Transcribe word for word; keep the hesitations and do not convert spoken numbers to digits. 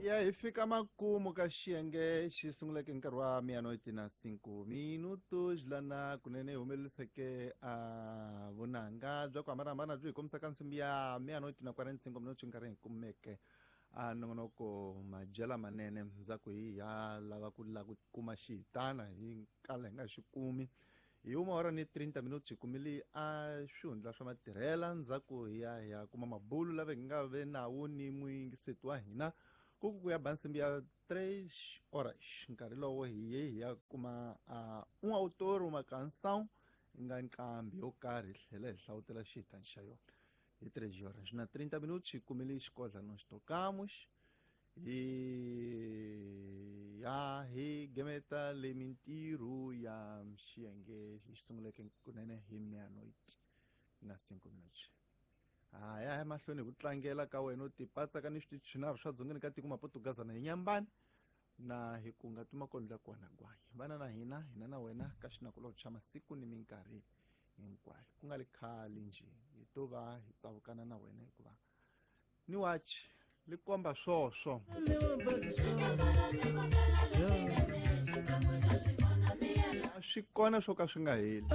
Ya hi fika makumu ka xiyenge xi sunguleke hi nkarhi wa meia-noite na cinco minutos lana kunene hi humeleriseke a vunanga bya ku hambanahambana byi hi kombisaka nsimbi ya meia-noite na quarenta cinco minutos nkarhi hi kumeke a nongonoko madyela manene ndzhaku hi ya lava ku lava ku kuma xihitana hi kala hi nga xi kumi hi uma hora ni trinta minutos hi kumile a swihundla swa matirhela ndzhaku hi ya hi ya kuma mabulu lava hi nga ve nawu ni muyingiseti wa hina ku ku ya ba nsimbi ya três horas nkarhi lowo hi ye hi ya kuma uh, um autor uma canção yi nga nqambi yo karhi hi tlhela hi hlawutela xihitani xa yona hi três horas na trinta minutos hi kumile xikodla nós tocamos hi ya hi gemeta le mintirho ya xiyenge hi sunguleke kunene hi meia-noite na cinco minutos ha ya emahlweni hi ku tlangela ka wena u tipatsaka ni switichi swinharhu swa dzongeni ka tiko mapotugazana hi nyambani na hi ku nga tuma kondla kona gwanyi vana na hina hina na wena ka xinakulobye xa masiku ni minkarhi hinkwayo ku nga li khale njhe hi to va hi tsavukana na wena hikuva ni wachi li komba swoswo a swi kona swo ka swi nga heli.